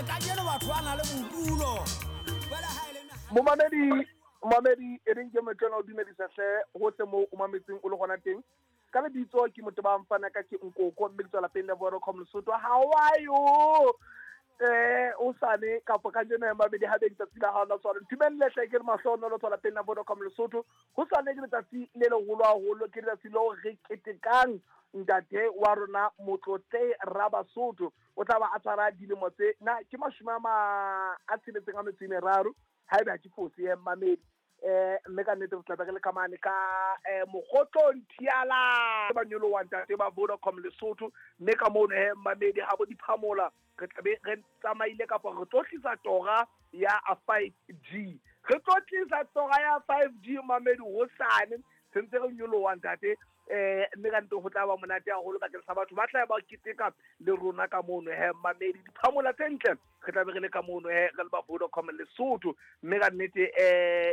Kajeno batho ba na le bodulo. Jwale ha e le Momamedi, momamedi e reng ke motlwana o dumedisa hle hohle moo o mametseng o le gona teng. Ka lebitso ke motho ba mfana ka ke nkoko mme ke tswa lapeng la Vodacom Lesotho. How are you? O sane kapa ka jeno mamedi ha beng tsatsi la hao la tswalo. Ntumelle hle ke re mahlohonolo tswa lapeng la Vodacom Lesotho. Ho sane ke letsatsi le leholo haholo, ke letsatsi leo re ketekang ntate wa rona Motlotle Rabasotho. O tla ba a tshwara dilemo tse na ke mashome a ma a tsheletseng a metso e meraro haebe ha ke fose eh, mamedi. Mme ka nnete re tla be re le ka mane ka Mokgotlong Thiala ba nyoloha ntate ba Vodacom Lesotho, mme ka mono he mamedi ha bo diphamola re tla be re tsamaile kapa re tlo tlisa tora ya 5G. Re tlo tlisa tora ya 5G mamedi hosane sentse re nyoloha ntate. Mme ka nnete ho tla ba monate haholo bakeng sa batho ba tla ba keteka le rona ka mono he mamedi. Diphamola tse ntle re tla be re le ka mono he re le ba Vodacom Lesotho, mme ka nnete.